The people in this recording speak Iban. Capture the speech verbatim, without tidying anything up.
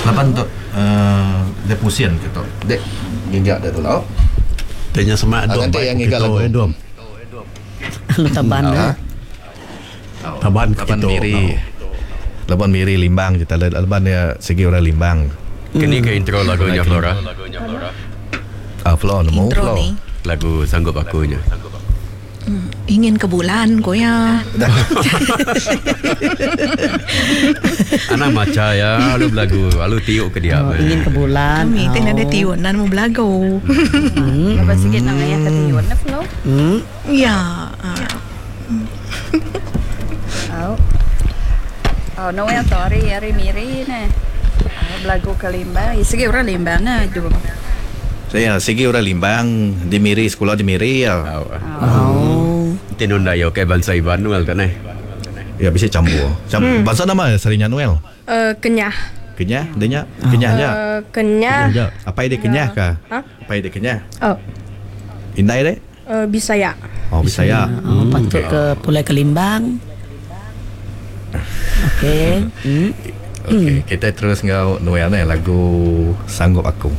Laban tu uh, dia pusin ke tu. Dek giga dia dulu. Tanya semak Ah, dom nanti baik yang ke ngiga tu lagu. eh dom. Lu taban Ah. eh. Taban ke Laban tu. Miri. Laban Miri Limbang kita laban dia segi orang Limbang. Kini ke intro lagunya Flora. Ah Flo nemu Intro Flo. ni. Lagu Sanggup Aku nya. Ingin ke bulan ko ya. Anak maca ya, lalu belagu, lalu tiuk ke dia. Oh, ingin ke bulan. Kami oh. Oh. Ada tiun nan mau belagu. Lepas sikit nak ayah ke tiun na Flo. Hmm. Ya. ah. Oh. Oh, Noel tu hari hari miri ne. Oh, belagu ke Limbang. Ya, Segi orang Limbang na jom. Saya segi orang Limbang di Miri sekolah di Miri ya. Oh. Oh. Tinun dayo ke bangsa Iban Noel tak neh. Ya bisa campur. Cam hmm. Bahasa nama Sarinya Noel. Uh, kenyah. Kenyah, dia nya, kenyah nya. Uh, kenyah. Apa dia kenyah kah? Ha? Apa dia kenyah? Oh, Indai deh. uh, Bisaya. Oh, bisa ya. Oh, patut ke pulai ke Limbang. Okey. Hmm. Okey, kita terus ngau Noel ni lagu Sanggup Aku.